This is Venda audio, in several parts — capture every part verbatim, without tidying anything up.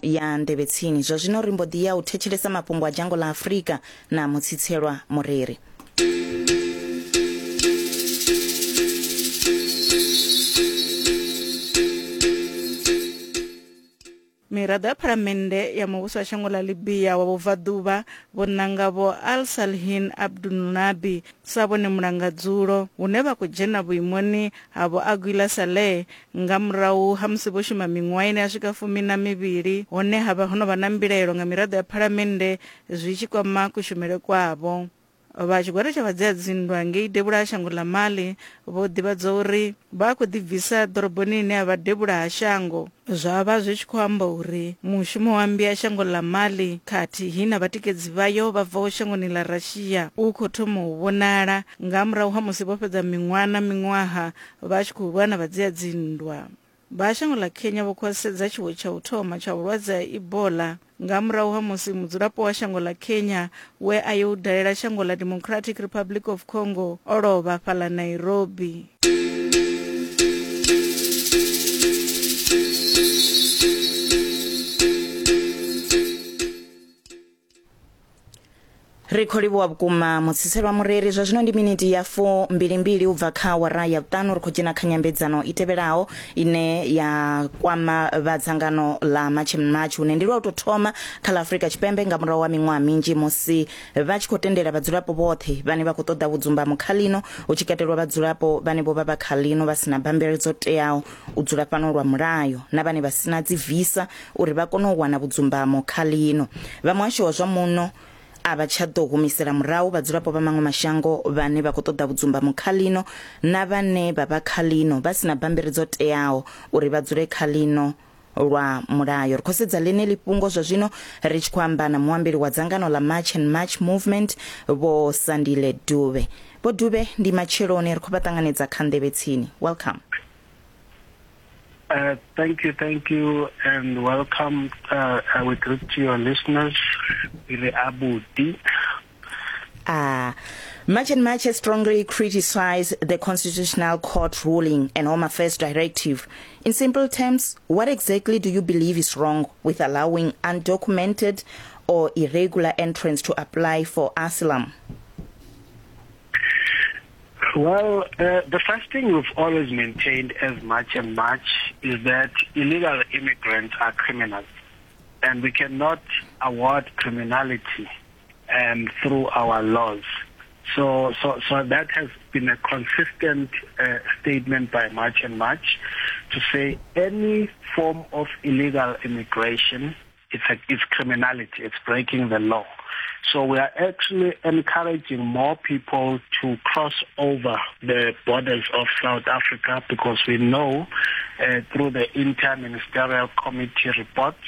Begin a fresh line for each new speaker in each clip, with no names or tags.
ya Nḓevhe Tsini. Zwa zwino ri mbo ḓi ya u thetshelesa mafhungo a dzhango ḽa Afrika na Mutsitselwa Mureri.
Miraḓo ya phalamennde ya muvhuso wa shango ḽa Libya wa vhubvaḓuvha vho nanga vho Al Salhin Abdulnabi sa vhone mulangadzulo, hune vha khou dzhena vhuimoni ha vho Aguila Saleh nga murahu ha musi vho shuma miṅwaha ine ya swika fumi na mivhili, hone ha vha ho no vha na mbilaelo nga miraḓo ya phalamennde zwi tshi kwama kushumele kwavho. Vha tshigwada tsha vhadzia dzinndwa ngei devhula ha shango ḽa Mali vho ḓivhadza uri vha khou ḓibvisa ḓoroboni ine ya vha devhula ha shango, zwa vha zwi tshi khou amba uri mushumo wa mmbi ya shango ḽa Mali khathihi na vhatikedzi vhayo vha bvaho shangoni ḽa Russia u khou thoma u vhonala nga murahu ha musi vho fhedza miṅwaha na miṅwaha vha tshi khou lwa na vhadzia dzinndwa. Vha shango ḽa Kenya vho khwaṱhisedza tshiwo tsha u thoma tsha vhulwadze ha Ebola nga murahu ha musi mudzulapo wa shango ḽa Kenya we a yo dalela shango ḽa Democratic Republic of Congo o lovha fhaḽa Nairobi.
Ri khou livhuwa vhukuma Mutsitselwa Mureri. Zwa zwino ndi miniti ya fu mbili mbili u bva kha awara ya vhuṱanu. Ri khou dzhena kha nyambedzano i tevhelaho ine ya kwama vha dzangano ḽa March and March, hune ndi lwa u tou thoma kha ḽa Afrika Tshipembe nga murahu ha miṅwaha minzhi musi vha tshi khou tendela vhadzulapo vhoṱhe vhane vha khou ṱoḓa vhudzumbamo kha ḽino, hu tshi katelwa vhadzulapo vhane vho vha vha kha ḽino vha sina bammbiri dzo teaho u dzula fhano lwa mulayo na vhane vha sina dzi visa uri vha kone u wana vhudzumbamo kha ḽino. Vha muhasho wa zwa muno a vha tsha ḓo humisela murahu vhadzulapo vha maṅwe mashango vhane vha khou ṱoḓa vhudzumbamo kha ḽino na vhane vha vha kha ḽino vha sina bammbiri dzo teaho uri vha dzule kha ḽino lwa mulayo. Ri khou sedza ḽeneḽi fhungo zwa zwino ri tshi khou amba na muambeli wa dzangano ḽa March and March Movement, Vho Sandile Dube. Vho Dube, ndi matsheloni, ri khou vha ṱanganedza kha Nḓevhe Tsini. Welcome.
Uh, thank you, thank you, and welcome. Uh, I will greet to your listeners.
Ah, March and March has strongly criticized the Constitutional Court ruling and Home Affairs Directive. In simple terms, what exactly do you believe is wrong with allowing undocumented or irregular entrants to apply for asylum?
Well, uh, the first thing we've always maintained as March and March is that illegal immigrants are criminals, and we cannot award criminality um, through our laws. So, so, so that has been a consistent uh, statement by March and March to say any form of illegal immigration, it's, a, it's criminality, it's breaking the law. So we are actually encouraging more people to cross over the borders of South Africa, because we know uh, through the Interministerial Committee reports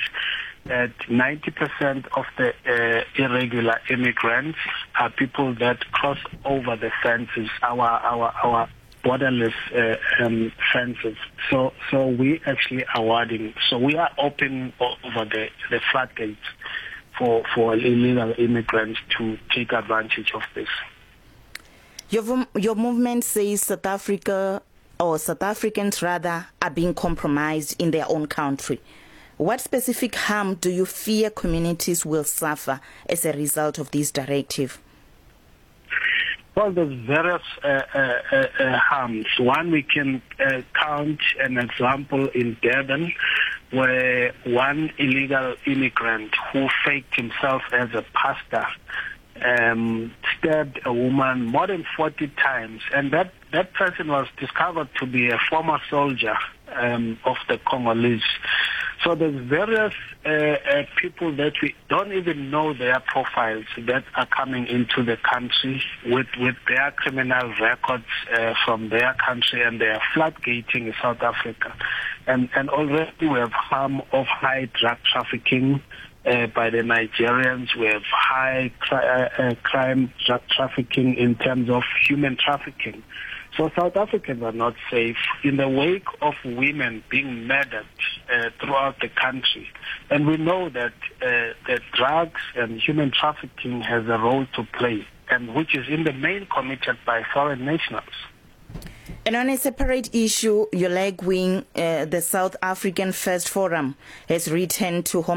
that ninety percent of the uh, irregular immigrants are people that cross over the fences, our our our borderless uh, um, fences. So so we actually awarding. So we are open over the, the floodgates for, for illegal immigrants to take advantage of this.
Your, your movement says South Africa, or South Africans rather, are being compromised in their own country. What specific harm do you fear communities will suffer as a result of this directive?
Well, there's various uh, uh, uh, harms. One, we can uh, count an example in Durban, where one illegal immigrant who faked himself as a pastor um, stabbed a woman more than forty times. And that, that person was discovered to be a former soldier um, of the Congolese. So there's various uh, uh, people that we don't even know their profiles that are coming into the country with, with their criminal records uh, from their country, and they are floodgating South Africa. And, and already we have harm of high drug trafficking uh, by the Nigerians. We have high cri- uh, crime drug trafficking in terms of human trafficking. So South Africans are not safe in the wake of women being murdered uh, throughout the country. And we know that uh, that drugs and human trafficking has a role to play, and which is in the main committed by foreign nationals.
And on a separate issue, your leg wing, uh, the South African First Forum, has written to Home